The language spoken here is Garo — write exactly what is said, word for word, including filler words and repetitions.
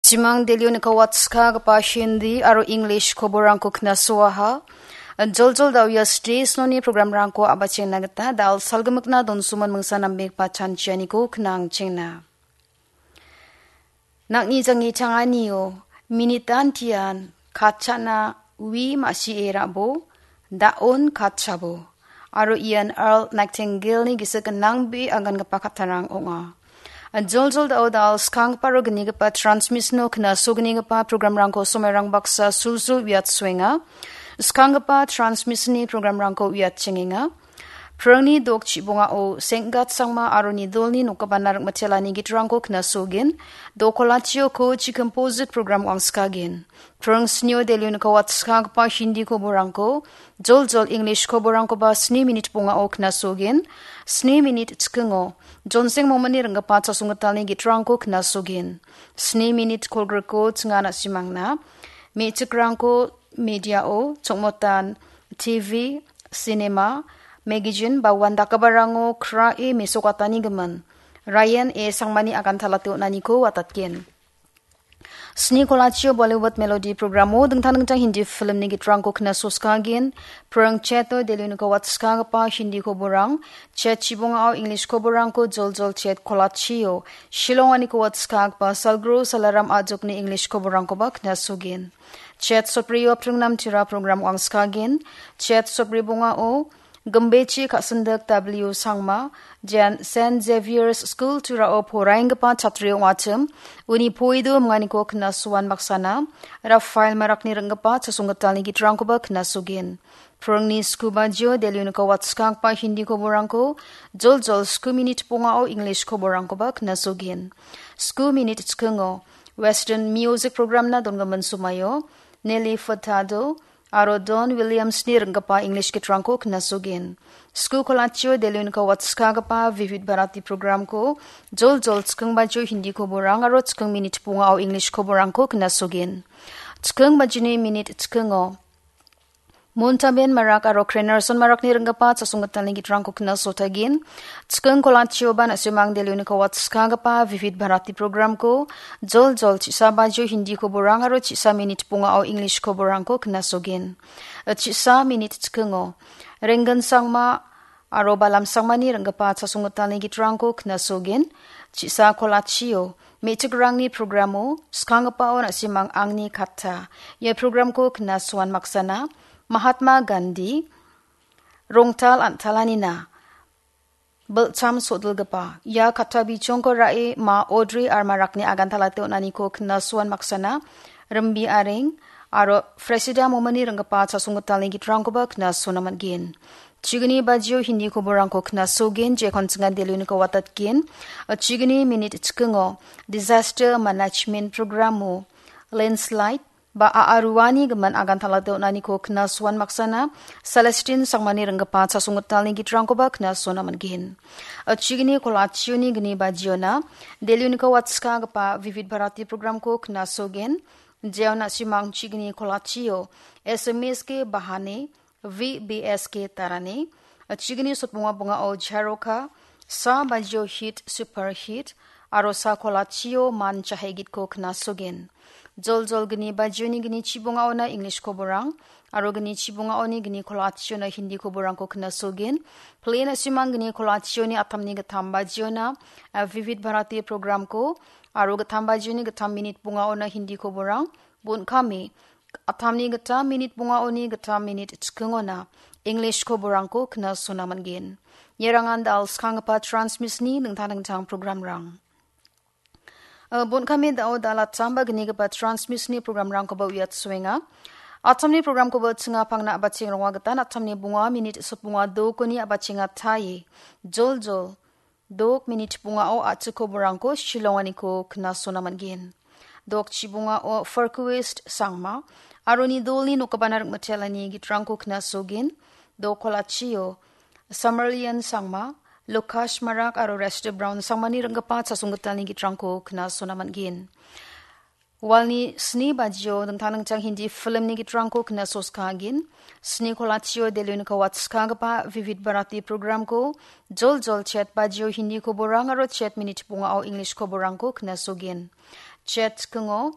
Jimang Delio nikawatskagipa Hindi aro English koborangko knasoaha. Joljol da·o ia stage noni programrangko a·bachengna gita da·al salgimikna donsoman mingsa nambegipa chanchianiko knangchengna. Nang·ni jangi changanio minitantian katchana wi ma·sie rabo, da·on katchabo. Aro ian Earl Nightingale-ni gisik gnangbe agangipa kattarang ong·a. Joljol da·o da·al skanggipa aro gnigipa transmission-o knasognigipa programrangko somairang baksa sulsul uiatsoenga. Skanggipa transmission-ni programrangko uiatchengenga. Prangni dok chibongao Senggat Sangma aro Nidolni nokgipana ringmitelani gitrangko knasogin. Dokolachio ko chi composite program wangskagen. Prang snio Delio nikawatskagipa Hindi koborangko, joljol English koborangkoba sni minit bongao knasogin. Sni minit chikingo Jonseng Momani ringgipa chasonggitalni gitrangko knasogin. Sni minit kolgriko chinga na·simangna. Me·chikrangko mediao, chongmotan, T V, cinema, magazine, ba uandakgiparango krae mesokatani gimin. Ryan A Sangmani agantalate on·aniko watatgen. Sni kolachio Bollywood Melody programo dingtang dingtang Hindi filmni gitrangko knasoskagen. Prang cheto Delio nikawatskagipa Hindi koborang, chet chibongao English koborangko joljol chet kolachio Shillong-o nikawatskagipa Salgro Salaram Ajokni English koborangkoba knasogen. Chet soprio pringnam tira program wangskagen. Chet sopri bongao Gimbechi Ka·sindik W Sangma, Jen Saint Xavier's School Turao poraenggipa chatri ong·achim, uni poido minganiko knasoan baksana, Rafael Marakni ringgipa chasonggitalni gitrangkoba knasogen. Prangni sku bajio Delio nikawatskagipa Hindi koborangko, joljol sku minit bongao English koborangkoba knasogen. Sku minit chikingo, Western Music Programna dongimin somaio, Nelly Furtado, aro Don Williams-ni ringgipa English gitrangko knasogen. Sku kolachio Delio nikawatskagipa Vivid Bharati programko joljol chiking bajio Hindi koborang aro chiking minit bongao English koborangko knasogen. Chiking bajini minit chikingo Montaben Marak aro Krenerson Marakni ringgipa chasonggitalni gitrangko knasotagin. Chiking kolachioba na·simang Delio nikawatskagipa Vivid Bharati programko joljol chisa bajio Hindi koborang aro chisa minit bongao English koborangko knasogen. Chisa minit chikingo Rengan Sangma aro Balam Sangmani ringgipa chasonggitalni gitrangko knasogen. Chisa kolachio me·chikrangni programo skanggipao na·simang angni katta. Ia programko knasoan maksana Mahatma Gandhi rongtal an·talanina bilcham sodilgipa ia katta bichongko ra·e ma Audrey R Marakni agantalate on·aniko knasoan maksana Rimbi Areng aro Fresida Momani ringgipa chasonggitalni gitrangkoba knasona man·gen. Chigni bajio Hindi koborangko knasogen, jekon chingan Delio niko watatgen. Chigni minit chikingo Disaster Management Programo Landslide ba a·a ruani gimin agantalate on·aniko knasoan maksana Celestine Sangmani ringgipa chasonggitalni gitrangkoba knasona man·gen. Chigni kolachioni gni bajiona Delio niko watskagipa Vivid Bharati programko knasogen. Jeon na·simang chigni kolachio S M S K Bahane V B S K Tarane, chigni sotbonga bongao Jaroka, sa bajio Hit Super Hit, aro sa kolachio Man Chahegitko knasogen. Joljol gni bajioni gni chibongaona English koborang, aro gni chibongaoni gni kolachiona Hindi koborangko knasogen. Plena simang gni kolachioni atamni gittam bajiona, eh, Vivid Bharati programko, aro gittam bajioni gittam minit bongaona Hindi koborang, bon kami, atamni gittam minit bongaoni gittam minit chikingona English koborangko knasona man·gen. Ierangan da·al skanggipa transmissionni dingtang dingtang programrang. Eh, bon kami da·o da·al attam ba gnigipa transmissionni programrangkoba uiatsoenga. Atamni programkoba chinga pangna a·bacheng ronga gitan atamni bonga minit sotbonga dokoni a·bachenga taie. Joljol dok minit bongao a·chik koborangko Shillonganiko knasona man·gen. Dok chibongao Farquest Sangma, aro Nidolni nokgipana ringmitelani gitrangko knasogen. Dok kolachio Samarlian Sangma, Lukash Marak aro Rester Brown Sangmani ringgipa chasonggitalni gitrangko knasona man·gen. Walni sni bajio dingtang dingtang Hindi filmni gitrangko knasoskagin. Sni kolachio Delhi-niko watskagipa Vivid Bharati programko joljol chet bajio Hindi koborang aro chet minit bongao English koborangko knasogin. Chet chikingo